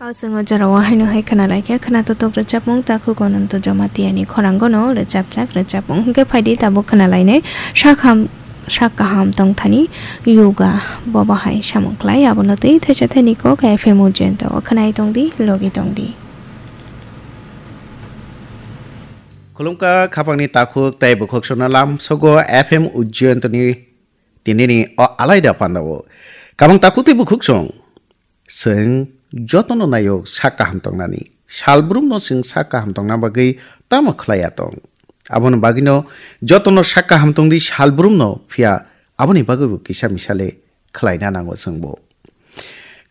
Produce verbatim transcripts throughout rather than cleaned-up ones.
O chwng o jorao haino hai khna lai kha, khna totok rwchapmung Takhuk Ananto Jamatia ni khorang gono rwchapjak rwchapmung. Hwnkhe phaidi tabuk khna lainai sak ham, sak kaham tongthani yoga. Bobo hai samung klai, abono twi thaisa thaini kok F M Ujjainta o khwnai tongdi, logi tongdi. Khulumkha khapangni takhuk tei bukhuk songno lamsogo F M Ujjainta ni tinini o alaida pandao. Kabang takhuk tei bukhuk song. Chwng jotono naio sak kaham tongnani. Salbrumno chwng sak kaham tongna bagwi tamo khlaiya tong? Aboni bagwino jotono sak kaham tongdi salbrumno, phiya aboni bagwibo kisa misale khlaina nango chwngbo.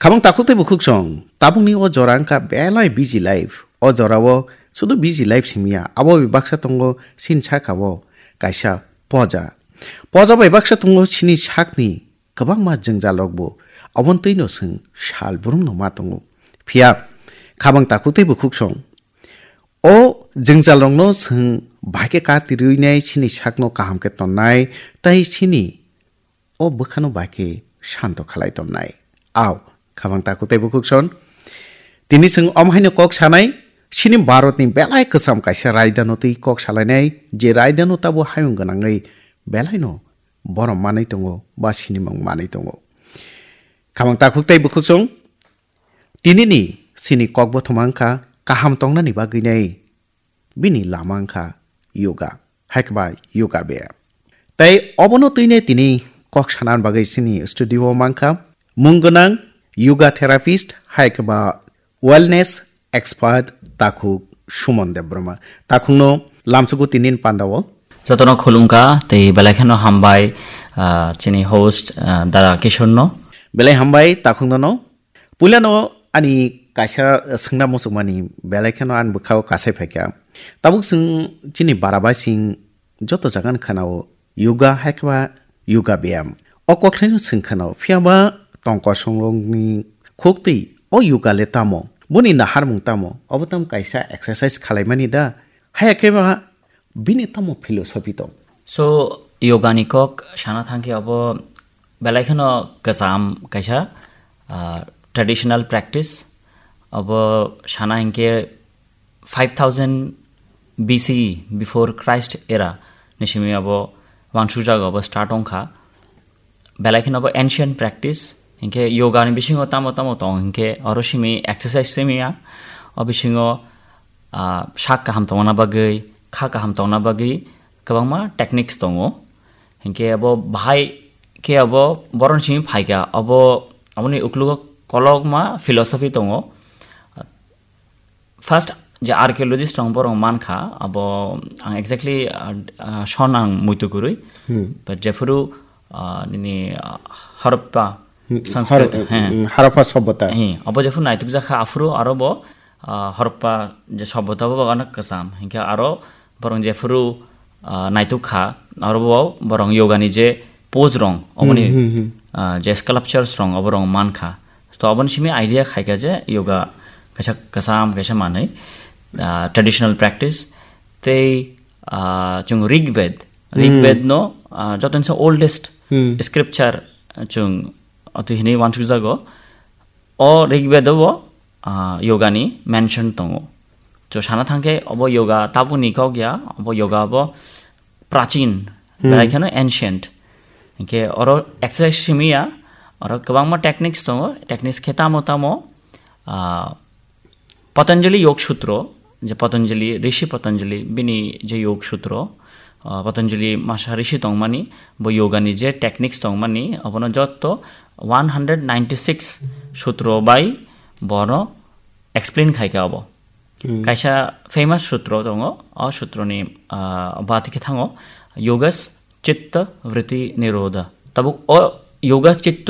Khabang takhuk tei bukhuk song, tabukni o jora wngkha belai busy life. O jorao sudu busy life simiya, abo bai baksa tongo chini sakao kaisa poja. Poja bai baksa tongo chini sakni kwbangma jwngjalrokbo, aboni twino chwng salbrumno ma tongo. Phiya khabang takhuk tei bukhuk song, o jwngjalrokno chwng bai khe katirwinai chini sakno kaham khe tonnai tei chini o bwkhano bai khe santo khalai tonnai. Au, khabang takhuk tei bukhuk song, tini chwng omo haino kok sanai, chini Bharatni belai kwcham kaisa rajdhani twi kok salainai, je rajdhani tabuk hayung gwnangwi belaino borom manwi tongo ba sinimung manwi tongo. Khamang takhuk tei bukhuk song, tinini chini kok bothoma wngkha kaham tongnani bagwinai bini lama wngkha yoga, hai khe ba yoga be. Tei obono twinai tini kok sanani bagwi chini studio o mankha mung gwnang yoga therapist hai khe ba wellness expert takhuk Suman Debbarma. Takhukno lamsugo tinin pandao. Jotono khulumkha tei belai kheno hambai, ah, chini host, ah, Dada Kishorno. Belai hambai takhukno no. Puilano ani kaisa swngna muchungmani belai kheno ani bwkhao kasai phaikha. Tabuk chwng chini bara bai sing joto jaga no khwnao yoga hai khe ba yoga byayam. O kokthaino chwng khwnao, phiya ba tongkosongrokni khuktwi o yoga le tamo? Boni naharmung tamo? Obo tamo kaisa exercise khalaimani da? Haya khe ba bini tamo philosophy tong? So, yoga ni kok sana thangkhe obo belai kheno kwcham kaisa, ah, traditional practice. Obo sana hinkhe five thousand B C E, before Christ era, ni simi abo wansukjago, abo start wngkha. Belai kheno abo ancient practice. Hinkhe yoga ni bisingo tamo tamo tong hinkhe oro simi exercise simi ya. O bisingo, ah, sak kaham tongna bagwi, kha kaham tongna bagwi kwbangma techniques tongo. Hinkhe abo bahai khe abo boron simi phaikha, abo, aboni uklogo kolokma philosophy tongo. First je archaeologist rok borok mankha, abo ang exactly, ah, ah, son ang muitu kwrwi. Hmm. But jephuru, ah, nini, ah, Harappa Hmm, Sanskrit, Har-, he. Hmm, Harappa sobbota. He, abo jephuru naitukjakha, aphuru aro bo, ah, Harappa je sobbota bo bagano kwcham. Hinkhe aro borok jephuru, ah, naitukha, aro bo borok yoga ni je pose rong, oboni, Hmm, hmm, hmm. ah, je sculptures rong, obo rong mankha. To aboni simi idea khaikha je yoga kaisa kwcham, kaisa manwi, ah, traditional practice. Tei, ah, chwng Rig Ved, Rig Hmm. Ved no, ah, jotono se oldest Hmm. scripture, ah, chwng otu hinwi wansukjago. O Rig Ved o bo, ah, yoga ni mention tongo. To sana thangkhe obo yoga tabukni kok ya, obo yoga bo prachin, Hmm. belai kheno ancient. Hinkhe oro exercise simi ya, oro kwbangma techniques tongo, techniques khe tamo tamo, ah, Patanjali Yog Sutro, je Patanjali, Rishi Patanjali, bini je Yog Sutro, ah, Patanjali masa rishi tongmani, bo yoga ni je techniques tongmani, abono jotto one hundred ninety six sutro bai bono explain khaikha obo. Hmm. Kaisa famous sutro tongo, o sutroni, ah, bati khe thango, Yogas Chitta Vritti Nirodha. Tabuk o Yogas Chitta